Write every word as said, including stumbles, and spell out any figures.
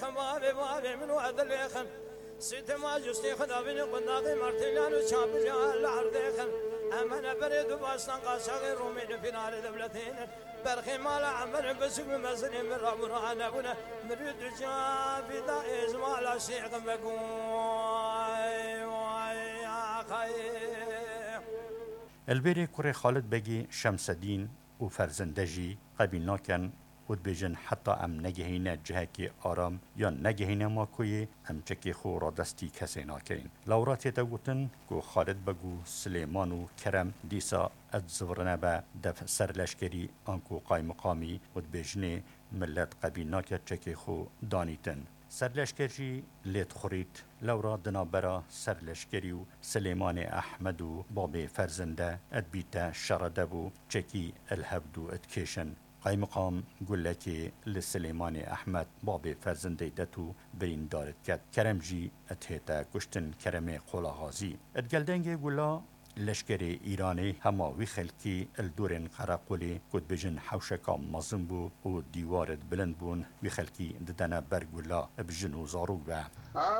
Xemavê mavê min û edilê xin. Sîtê ma justê xwe davînê qundaqê mertêlan û çapirya li erdê xin. Emene berê du baştan qaçaxê Romê li fînalê dewletê ne. Berxê mala Emer biçûk bi mezinê min rabûna nebûne. Mirî du cavîda êzmala şêxin vegoy. Vay axayê. Elbêrê kurê Xalid Begî Şemsedîn û Ferzinde jî qebîl nakin û dibêjin, heta em negehîne cihekî aram yan negehîne Makoyê, em çekê xwe radestî kesê nakeyin. Lewra tête gotin ku Xalid Beg û Silêman û Kerem dîsa ed zivirine be dev serleşkerî anku qaymiqamî û dibêjinê, millet qebîl nake çekê xwe danîtin. Serleşker jî lê dixurît. Lewra di navbera serleşkerî û Silêmanê Ehmed û babê Ferzinde edbîte şerede bû, çekî el hevdû dikêşin. Qaymiqam gulekê li Silêmanê Ehmed babê Ferzindê det û birîndar diket. Kerem jî dihête kuştin, Keremê Qolaxazî. Di gel dengê gula leşkerê Îranê hema wî xelkî li dorên qereqolê ku dibêjin hewşeka mezin bû û dîwar bilind bûn, wî xelkî didene ber gula bi jin û zarok ve. Ax